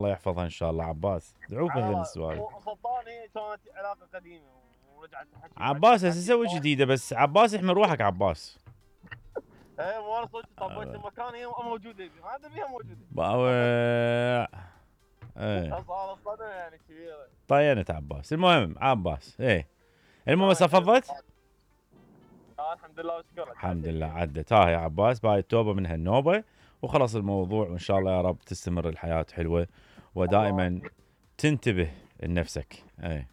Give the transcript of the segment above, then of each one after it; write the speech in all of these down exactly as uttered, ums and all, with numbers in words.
الله يحفظها ان شاء الله. عباس ادعو بهذين السوالف. وسلطان هي كانت علاقه قديمه ورجعت تحكي. عباس هسه سوي جديده، بس عباس احمل روحك عباس. ايه مو انا صدق طبيت المكان هي موجوده، هذا بيها موجوده. باوع ايه صار صدمه يعني كبيره. طينت عباس. المهم عباس ايه المهم صفضت؟ آه الحمد لله وشكرا. الحمد لله عدت. ها يا عباس باي التوبه من هالنوبه وخلص الموضوع، وان شاء الله يا رب تستمر الحياه حلوه ودائما تنتبه لنفسك. اي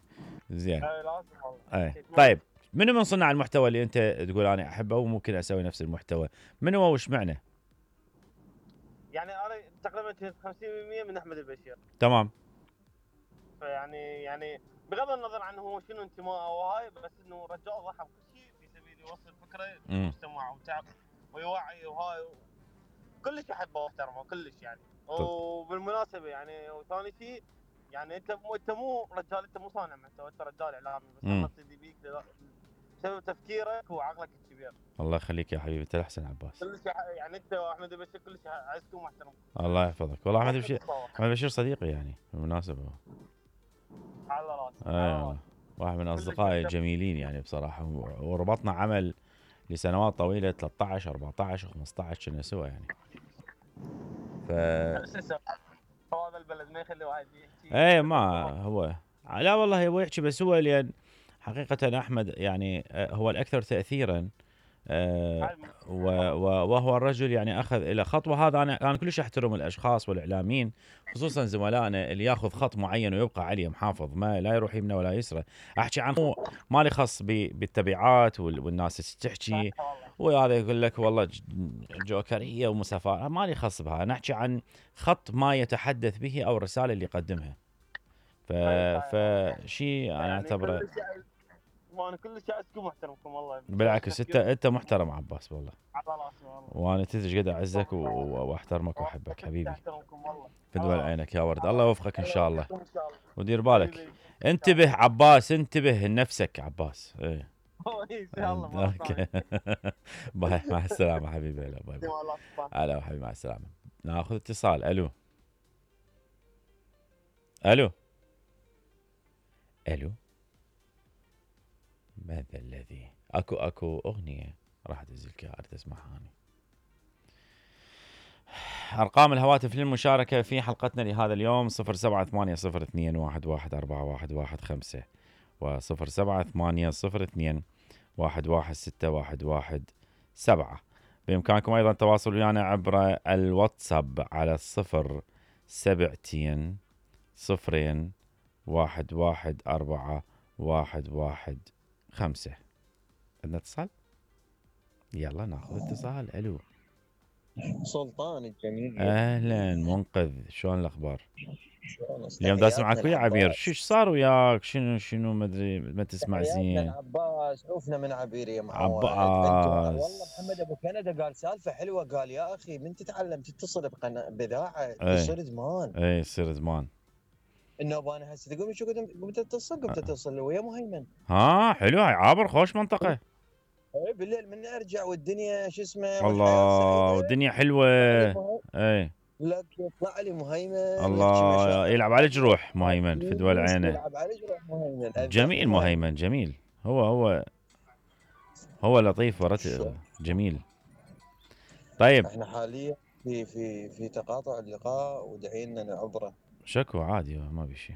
زين. اي لازم والله. اي طيب منو من صناع المحتوى اللي انت تقول انا احبه وممكن اسوي نفس المحتوى؟ منو وش معنى؟ يعني انا تقريبا خمسين بالمئة من احمد البشير. تمام. فيعني يعني بغض النظر عن هو شنو انتماءه وهاي، بس انه رجال ضحى بكل شيء في سبيل يوصل فكره للمجتمع وتعب ويوعي وهاي كلش احبه واحترمه كلش يعني. وبالمناسبه يعني وثاني شيء يعني انت مو انت مو رجال، انت مو صانع محتوى، انت رجال اعلامي، بس انا اقتدي بيك بسبب تفكيرك وعقلك الكبير. الله يخليك يا حبيبي، انت الاحسن عباس. كلش يعني انت واحمد البشير كلش اعزكم واحترمكم. الله يحفظك. والله احمد البشير احمد البشير صديقي يعني بالمناسبه. على راسي. ايوه واحد من اصدقائي الجميلين يعني بصراحه، وربطنا عمل لسنوات طويله ثلاثة عشر أربعة عشر خمسة عشر كنا سوا يعني. ف هذا البلد ما يخلي واحد يحكي. ايه ما هو لا والله هو يحكي، بس هو لان حقيقه احمد يعني هو الاكثر تاثيرا. أه وهو الرجل يعني اخذ الى خطوه. هذا انا انا كلش احترم الاشخاص والاعلاميين خصوصا زملائنا اللي ياخذ خط معين ويبقى عليه محافظ، ما لا يروح يمنه ولا يسره. احكي عن مالي خص بالتبعات والناس تحكي وهذا يقول لك والله جوكريه ومسافات، مالي خص بها. نحكي عن خط ما يتحدث به او الرساله اللي يقدمها. ف فشيء انا اعتبره وانا كلش اعزكم واحترمكم والله. بالعكس انت انت محترم عباس والله. على راسي والله. وانا تدري قد اعزك واحترمك واحبك حبيبي. احترمكم والله. فدول عينك يا ورد. الله يوفقك ان شاء الله. ودير بالك. انتبه عباس، انتبه لنفسك عباس. ايه ان شاء الله. اوكي باي مع السلامه حبيبي. هلا باي باي. هلا حبيبي مع السلامه. ناخذ اتصال. الو الو الو ماذا الذي اكو اكو اغنيه راح ادزلك اريد اسمعها اني. ارقام الهواتف للمشاركه في حلقتنا لهذا اليوم صفر سبعة ثمانية صفر اثنين واحد واحد أربعة واحد واحد خمسة وصفر سبعة ثمانية صفر اثنين واحد واحد ستة واحد واحد سبعة. بامكانكم ايضا التواصل ويانا عبر الواتساب على الصفر سبعتين صفرين واحد واحد أربعة واحد واحد خمسة. عندنا اتصال؟ يلا ناخذ اتصال. الو سلطان الجميل. اهلا منقذ، شلون الاخبار؟ اليوم دا اسمعك ويا عبير، شو صار وياك؟ شنو شنو ما ادري ما تسمع زين. عباس عوفنا من عبير يا معود. عباس والله محمد ابو كندا قال سالفه حلوه، قال يا اخي من تتعلم تتصل بقناه باذاعه يصير زمان. اي يصير زمان. النوبه انا هسه تقول شو قمت اتصل قمت اتصل ويا مهيمن. ها حلو هاي عابر خوش منطقه. اي بالليل من ارجع والدنيا شو اسمه الله والدنيا حلوه. اي لك يطلع لي مهيمن الله يلعب على جروح مهيمن في دول عينه. يلعب على جروح مهيمن. جميل مهيمن جميل. هو هو هو لطيف ورت جميل. طيب احنا حاليا في في في تقاطع اللقاء ودعينا نعبره. شكو عادي ما بشي.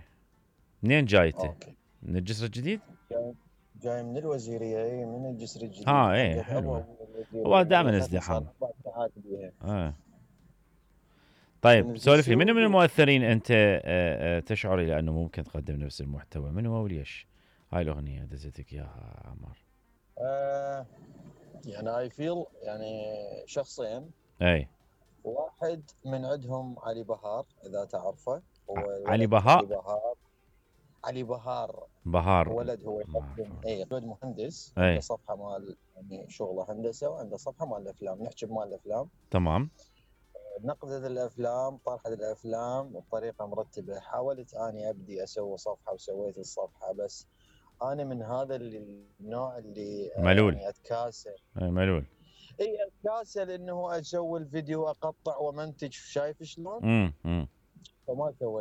منين جايته؟ من الجسر الجديد؟ جاي, جاي من الوزيريه. اي من الجسر الجديد. اه ايه حلو. هو دائما ازدحام. اه طيب سولف لي منو من المؤثرين انت تشعر الى انه ممكن تقدم نفس المحتوى؟ من هو وليش؟ هاي الاغنيه دزتك اياها عمار. آه يعني اي فيل يعني شخصين. اي واحد من عندهم علي بهار اذا تعرفه. هو علي بهار. علي بهار علي بهار بهار ولد هو يقدم اي ولد مهندس. عنده صفحه مال يعني شغله هندسه وعنده صفحه مال الافلام. نحكي بمال الافلام. تمام. نقدت الافلام طرحت الافلام بطريقه مرتبه. حاولت اني ابدي اسوي صفحه وسويت الصفحه، بس انا من هذا النوع اللي ملول يعني اتكاسل. اي ملول. اي اتكاسل انه اسوي الفيديو اقطع ومنتج. شايف شلون؟ امم امم فما سويت